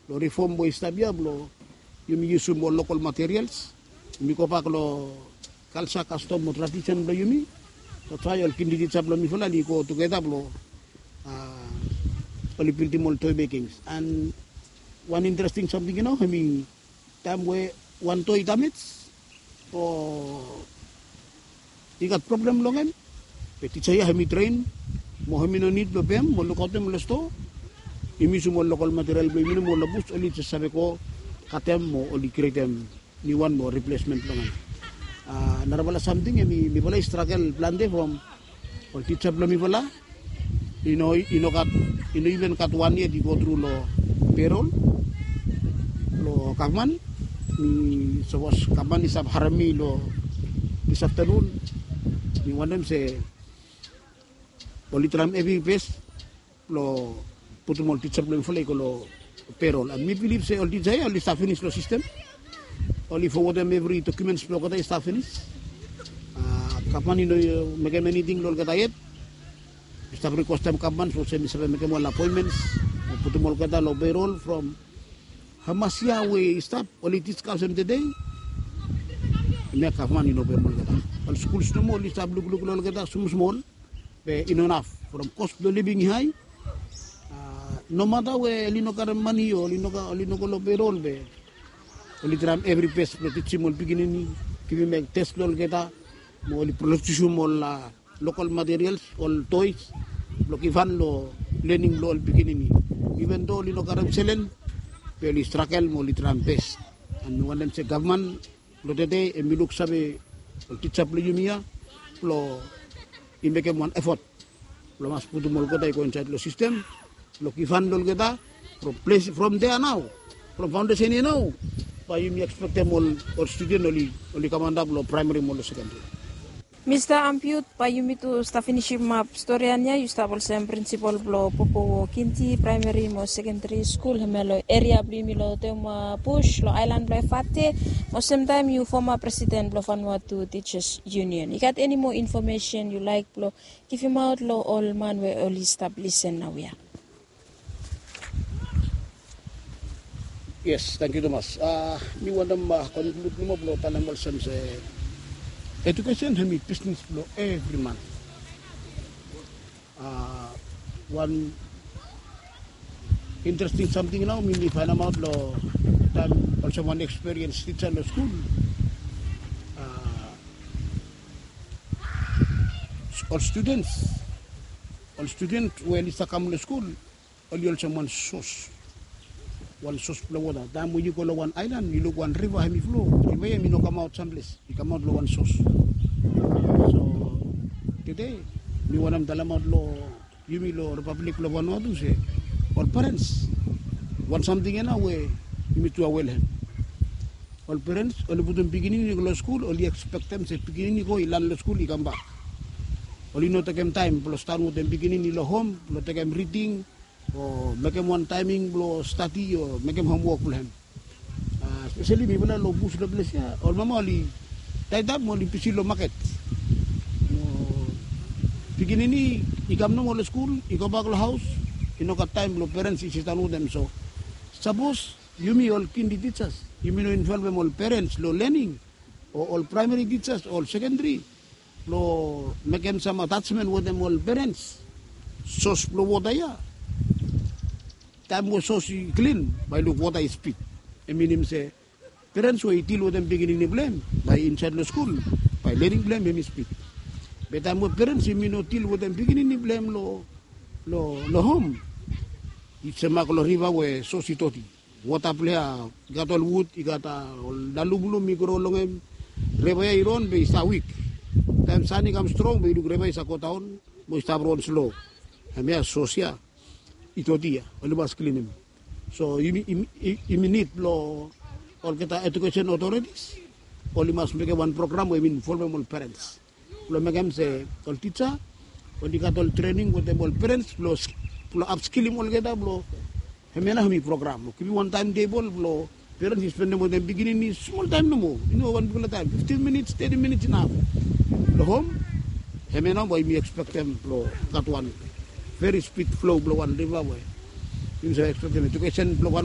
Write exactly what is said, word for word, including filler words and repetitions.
long rifom we i stap ya blong yumi yusum ol lokal materials. Yumi gobak long kalsa, kastom mo tradisen blong yumi. That's why ol kindergarten tija blong mifala oli go tugeta blong, a, oli bildim ol toy mekings. And wan interesting samting, yu no, hemi taem we wan toy i damej o i gat problem long hem, be tija ya hemi tren mo hemi no nid blong pem mo lukaotem long stoa. Yumi yusum ol lokal material blong yumi nomo long bus, oli jes save go katem mo oli krietem niuwan mo riplesmen blong hem. A, narafala samting hemi, mifala i stragel plante from ol tija blong mifala i no, i no gat, i no iven gat wan yet i go tru long perol blong gavman. Mi sapos gavman i stap harem mi long dis aftanun, mi wantem se oli traem evri bes blong putum ol tija blong mifala i go long perol. And mi bilif se ol tija ya oli stap finis long sistem. Oli fowodem evri dokumens blong olgeta i stap finis. A, gavman i no mekem eniting long olgeta yet. Mi stap rikwestem gavman sapos se mi save mekem ol apoenmens o putum olgeta long perol from hamas yia we i stap, oli diskasem tede. Hemia gavman i no pem olgeta. Ol skuls nomo oli stap lukluk long olgeta smosmol, be i no naf from kos blong living i hae. A, nomata we oli no karem mane o oli no, oli no go long perol, be oli traem evri bes blong tijim ol pikinini, givim tes long olgeta, mo oli produsum ol, a, lokal materials, ol toys blong givhan long lening blong ol pikinini. Iven do oli no karem selen, be oli stragel mo oli traem bes. And mi wantem se gavman blong tede hemi luksave ol tija blong yumi ya blong i mekem wan efot blong mas putum olgeta i go insaed long sistem blong givhan long olgeta from ples, from dea nao, from faondesen ya nao, bae yumi ekspektem ol, ol studen oli, oli kam antap long praemari mo long sekendari. Mista Ampiut, bae yumi tu stap finisimap storian ya. Yu stap olsem prinsipol blong Popowo Kindi Praemari mo Sekendari Skul, hemia long eria blong yumi long Teuma Bus long aelan blong Efate, mo semtaem yu foma presiden blong Vanuatu Teachers Union. I gat eni moa infomesen yu laek blong givimaot long ol man we oli stap lisen naoia? Yes, tangkiu tumas. A, mi wantem, a, konklud nomo blong talem olsem se edukesen hemi bisnes blong evri man. A, wan interesting samting nao mi, mi faenemaot long taem olsem wan ekspiriens tija long skul. A, ol studens, ol studen we oli stap kam long skul, oli olsem wan sos, wan sos blong wota. Taem we yu go long wan aelan, yu luk wan riva hemi flo, riva ya hemi no kamaot samples, i kamaot long wan sos. So tede mi wantem talemaot long yumi long Ripablik blong Vanuatu se ol perens, wan samting ya nao we yumi tu awea long hem. Ol perens oli putum pikinini i go long skul, oli ekspektem se pikinini i go i lan long skul i kambak. Oli no tekem taem blong stap wetem pikinini long hom blong tekem riding o mekem wan taeming blong stadi o mekem homwok blong hem. A, speseli mifala long bus long ples ya, ol mama oli taetap mo oli bisi long maket. Mo pikinini i kam nomo long skul, i gobak long haos, i no gat taem blong perens i sidaon wetem. So sapos yumi ol kindi tijas, yumi no involvem ol perens long lening, o ol praemari tijas, ol sekendari, blong mekem sam atasmen wetem ol perens, sos blong wota ya, taem we sos i klin, bae yu luk wota i spid. Hem i minim se perens we i dil wetem pikinini blong hem bae insaed long skul, bae lening blong hem hemi spid. Be taem we perens hemi no dil wetem pikinini blong hem long, long hom, i semak long riva we sos i doti. Wota blong ya i gat ol wud, i gat, a, ol lalumlum i gro long hem. Riva ya i ron be i stap wik. Taem san i kam strong be yu luk riva i save godaon mo i stap ron slo. Hemia sos ya i doti ya, oli mas klinim. So yumi, yumi, yumi nid blong olgeta edukesen otoritis oli mas mekem wan program we yumi involvem ol perens blong mekem se ol tija oli gat ol trening wetem ol perens blong, blong apskilim olgeta blong, hemia nao hemi program blong givim wan taemtebol blong perens i spendem wetem pikinini smol taem nomo, i no wan bigfala taem, fiftin minits, teti minits inap. Long hom, hemia nao bae yumi ekspektem blong gat wan veri spid flo blong wan riva we yumi save ekspektem edukesen blong wan